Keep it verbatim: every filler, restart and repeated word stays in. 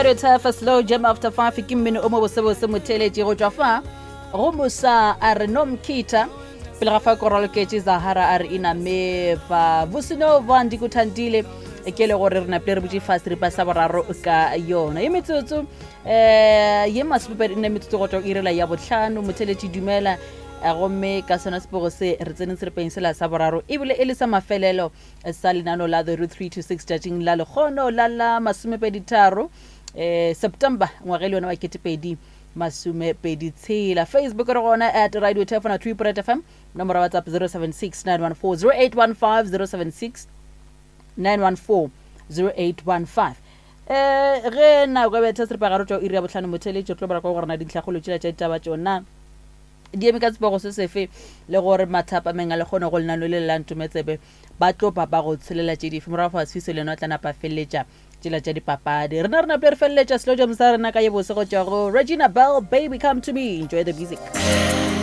Radio Turf slow jam after five ke mmino o mo bosebose motheletši go tšwa fa go mosa a re nomkhita pele ga fa koraloketše zahara a re inameva vosinova ndikuthandile ke le gore re napile re botse fa seripa sa boraro ka yona ye metsotso um ye masomepedi nne metsotso go tšwa irela ya botlhano motheletši dumela eh, gomme ka sona sepego se re tseneng seripeng sela sa boraro ebile e le sa mafelelo eh, sa lenano la the root three to six tšatšing la lekgono la la masomepedi tharo um september ngwaga e le yona wa ketepedi masomepedi tshela facebook re gona at radio tefona two point fm nomoro ya whatsapp zero seven six nine one four zero eight one five zero seven six nine one four zero eight one five um ge nako e betha seripagare tšwa iri ya botlhano motheletši re tlo bara kwa gore na dintlhakgolo tšela tša ditaba tšona di eme ka tsepego se sefe le gore mathapameng a le kgone go lenano le le la ntometsebe ba tlo ba ba go tshelela tše dife morago fa sefiso le yena o tla napa a feleletša tšela tša dipapadi rena re napile re feleletša slow jam sa rena ka ye bose go tšwa go regina bell baby come to me enjoy the music